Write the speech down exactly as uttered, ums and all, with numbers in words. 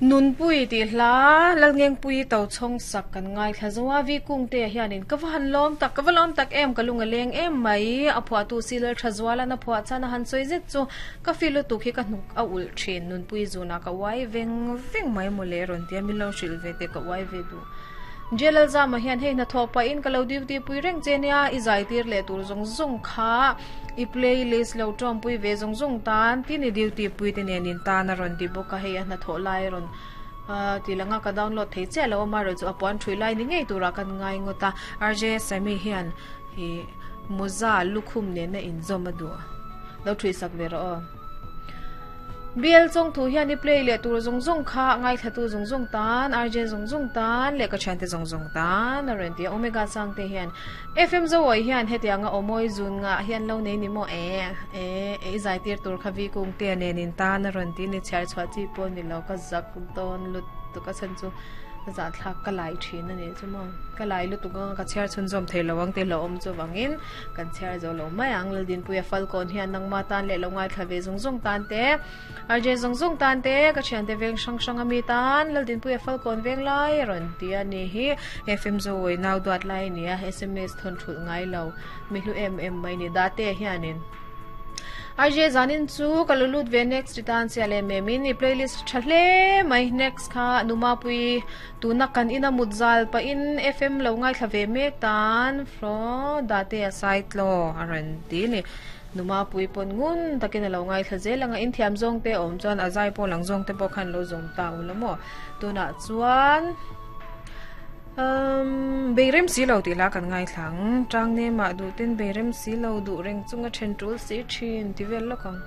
Nunpui ti hla Lalngengpui to chhong sak kan ngai thla zoa vi kung te hianin ka va han lawm tak ka va lawm tak em ka lunga leng em mai a phua tu silal tha zuala na phua chana han soi zet chu ka filu tu khi ka hnuk a ul thin nunpui zuna ka wai veng veng mai mole ron tia min lo hril ve te ka wai ve du jelal zama hian hei na tho pa in ka lo duty pui reng chenia i zai tir le tur zong zong kha i playlist lo tawm pui ve zong zong tan ti ni duty pui te nen in tan a ron ti boka hei a na tho lai ron a ti langa ka download thei che lo ma ro chu apuan thui lai ni ngei tura kan ngai ngota R J Sami hian hi muza lukhum ne na in zom a du lo thui sak ve ro biel chong thu hian i play le tur zong zong kha ngai thatu zong zong tan R J zong zong tan le ka thian te zong zong tan a ren ti omega sang te hian F M zo oi hian hetianga omoi zun nga hian lo nei ni mo e e e zai tir tur khavi kung te nen in tan a ron ti ni chhar chwa chi pon ni lo ka zak don lut tu ka chan chu za thlak ka lai thin ani chu mo ka lai lu tu ka chhiar chun zom thei lowang te lo om chu wangin kan chhiar zo lo mai ang laldin puya falcon hian nangma tan le lo ngai thlave zong zong tan te R J zong zong tan te ka thian te veng sang sang ami tan laldin puya falcon veng lai ron ti ani hi F M zo wei naw duat lai nia S M S thon thul ngai lo mi hlu em em mai ni da te hianin R J zanin chu kalulut ve next tan sia le me min i playlist thahle mai next kha numa pui tuna kan ina mutzal pa in F M lo ngai thlave mek tan fro date aside lo aran ti ni numa pui pon ngun takin lo ngai thla zelanga in thiam zong te om chuan azai po lang zong te po khan lo zong ta ulamo tuna chuan um beirem si lo ti la kan ngai thlang tang ne ma du tin beirem si lo du reng chunga then tul si thin ti vel lokang.